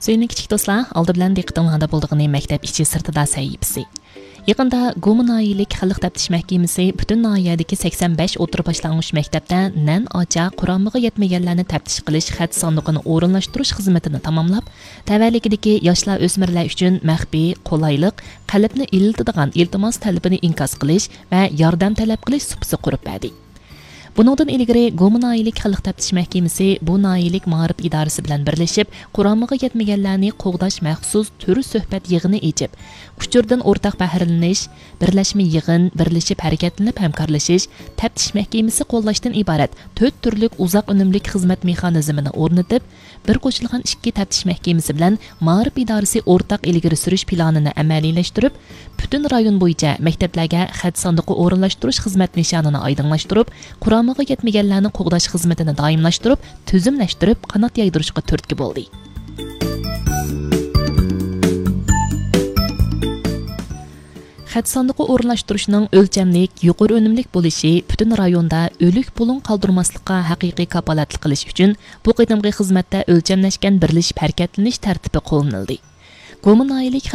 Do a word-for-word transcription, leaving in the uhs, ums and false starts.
سۆيۈملۈك كىچىك دوستلار، ئالدى بىلەن دىققىتىڭلاردا بولىدىغىنى مەكتەپ ئىچى سىرتىدا سەھىپىسى. يېقىندا گۇما ناھىيەلىك خەلق تەپتىش مەھكىمىسى پۈتۈن ناھىيەدىكى سەكسەن بەش ئوتتۇرا باشلانغۇچ مەكتەپتە نەن ئاچا قۇرامىغا يەتمىگەنلەرنى تەپتىش قىلىش خەت ساندۇقىنى ئورۇنلاشتۇرۇش خىزمىتىنى تاماملاپ، تەۋەلىكىدىكى ياشلار، ئۆسمۈرلەر ئۈچۈن مەخپىي، قولايلىق، قەلبنى ئىللىتىدىغان ئىلتىماس تەلىپىنى ئىنكاس قىلىش ۋە ياردەم تەلەپ قىلىش سۇپىسى قۇرۇپ بەردى. بۇنىڭدىن ئىلگىرى، گۇما ناھىيەلىك خەلق تەپتىش مەھكىمىسى بۇ ناھىيەلىك مائارىپ ئىدارىسى بىلەن بىرلىشىپ، قۇرامىغا يەتمىگەنلەرنى قوغداش مەخسۇس تۈر سۆھبەت يىغىنى ئېچىپ، ئۇچۇردىن ئورتاق بەھرىلىنىش، بىرلەشمە يىغىن، بىرلىشىپ ھەرىكەتلىنىپ ھەمكارلىشىش، تەپتىش مەھكىمىسى قوللاشتىن ئىبارەت تۆت تۈرلۈك ئۇزاق ئۈنۈملۈك خىزمەت مېخانىزمىنى ئورنىتىپ، بىر قوشۇلغان ئىككى تەپتىش مەھكىمىسى بىلەن مائارىپ ئىدارىسى ئورتاق ئىلگىرى سۈرۈش پىلانىنى ئەمەلىيلەشتۈرۈپ، پۈتۈن رايون بويىچە مەكتەپلەرگە خەت ساندۇقى ئورۇنلاشتۇرۇش خىزمەت نىشانىنى ئايدىڭلاشتۇرۇپ، قۇرامىغا يەتمىگەنلەرنى قوغداش خىزمىتىنى دائىملاشتۇرۇپ، تۈزۈملەشتۈرۈپ، قانات يايدۇرۇشقا تۈرتكە بولدى. خەت ساندۇقى ئورۇنلاشتۇرۇشنىڭ ئۆلچەملىك، يۇقىرى ئۈنۈملۈك بولۇشى پۈتۈن رايوندا ئۆلۈك بۇلۇڭ قالدۇرماسلىققا ھەقىقىي كاپالەتلىك قىلىش ئۈچۈن، بۇ قېتىمقى خىزمەتتە ئۆلچەملەشكەن بىرلىشىپ ھەرىكەتلىنىش تەرتىپى قوللىنىلدى. گۇما ناھىيەلىك